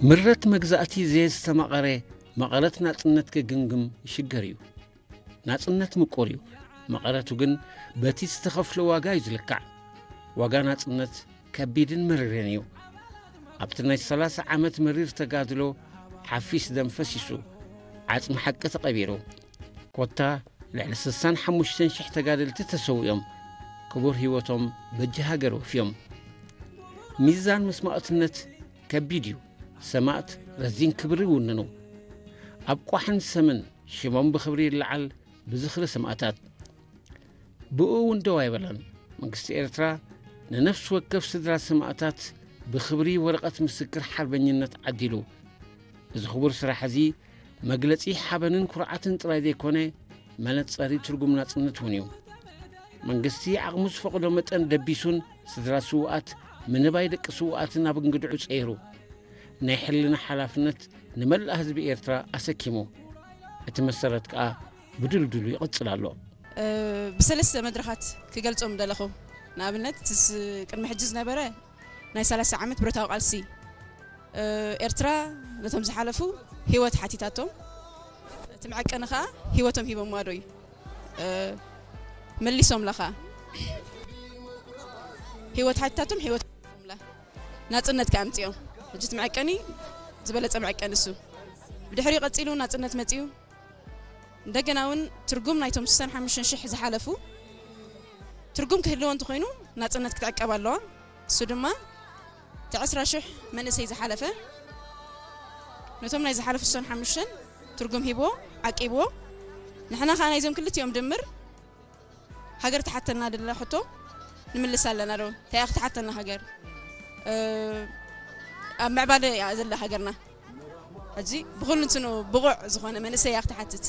ምረት መግዛእቲ ዘየስተማቐረ መቐረት ናጽነት ክግምግም ይሽገር እዩ። ናጽነት ምቁር እዩ። መቐረቱ ግን በቲ ዝተኸፍሎ ዋጋ እዩ ዝልካዕ። ዋጋ ናጽነት ከቢድን መሪርን እዩ። ኣብቲ ናይ ሰላሳ ዓመት መሪር ተጋድሎ ሓፊስ ደም ፈሲሱ፣ ዓጽሚ ሓቂ ተቐቢሩ። ኮታ ልዕሊ ስሳን ሓሙሽተን ሽሕ ተጋደልቲ ተሰዊኦም፣ ክቡር ህይወቶም በጃ ሃገር ወፍዮም። ሚዛን መስዋእትነት ከቢድ እዩ። ሰማእት ረዚን ክብሪ ይውንኑ። ኣብ ቋሕን ሰምን ሽሞም ብኽብሪ ይለዓል ብዝኽሪ ሰማእታት። ብኡ እውን ደው ኣይበለን። መንግስቲ ኤርትራ ንነፍሲ ወከፍ ስድራ ሰማእታት ብኽብሪ ወረቐት ምስክር ሓርበኝነት ዓዲሉ። እዚ ክቡር ስራሕ እዚ መግለጺ ሓበንን ኩርዓትን ጥራይ ዘይኮነ፣ መነጸሪ ትርጉም ናጽነት እውን እዩ። መንግስቲ ዓቕሙ ዝፈቕዶ መጠን ደቢሱን ስድራ ስውኣት ምንባይ ደቂ ስውኣትን ኣብ እንግድዑ ጸይሩ፣ ናይ ሕልና ሓላፍነት ንመላእ ህዝቢ ኤርትራ ኣሰኪሙ። እቲ መሰረት ከኣ ብድልድሉ ይቕጽል ኣሎ። እ፣ ብሰለስተ መድረኻት ክገልጾም ደለኹ። ንኣብነት፣ እቲ ስ-፣ ቅድሚ ሕጂ ዝነበረ ናይ ሰላሳ ዓመት ብረታዊ ቃልሲ፣ እ፣ ኤርትራ ነቶም ዝሓለፉ ህይወት ሓቲታቶም፣ እቲ መዐቀኒ ኸኣ ህይወቶም ሂቦምዋ ዶ እዩ? እ፣ መሊሶምላ ኸኣ። ህይወት ሓቲታቶም ህይወት ሂቦምላ። ናጽነት ከኣ ኣምጺኦም። ሕጂ እቲ መዐቀኒ ዝበለጸ መዐቀኒ እሱ። ብድሕሪኡ ቀጺሉ ናጽነት መጺኡ። እንደገና እውን ትርጉም ናይቶም ስሳን ሓሙሽተን ሽሕ ዝሓለፉ ትርጉም ክህልዎ እንተኾይኑ ናጽነት ክትዕቀብ ኣለዋ። እሱ ድማ እቲ ዕስራ ሽሕ መንእሰይ ዝሓለፈ ነቶም ናይ ዝሓለፉ ስሳን ሓሙሽተን ትርጉም ሂብዎ፣ ዓቂብዎ። ንሕና ኸኣ ናይዞም ክልቲኦም ድምር ሃገር ትሓተና ደላ ሕቶ ንምልስ ኣለና ዶ? እንታይ እያ ክትሓተና ሃገር? እ፣ ኣብ ምዕባለ እያ ዘላ ሃገርና። ሕጂ ብኹሉ እንትኑ ብቑዕ ዝኾነ መንእሰይ እያ ክትሓትት።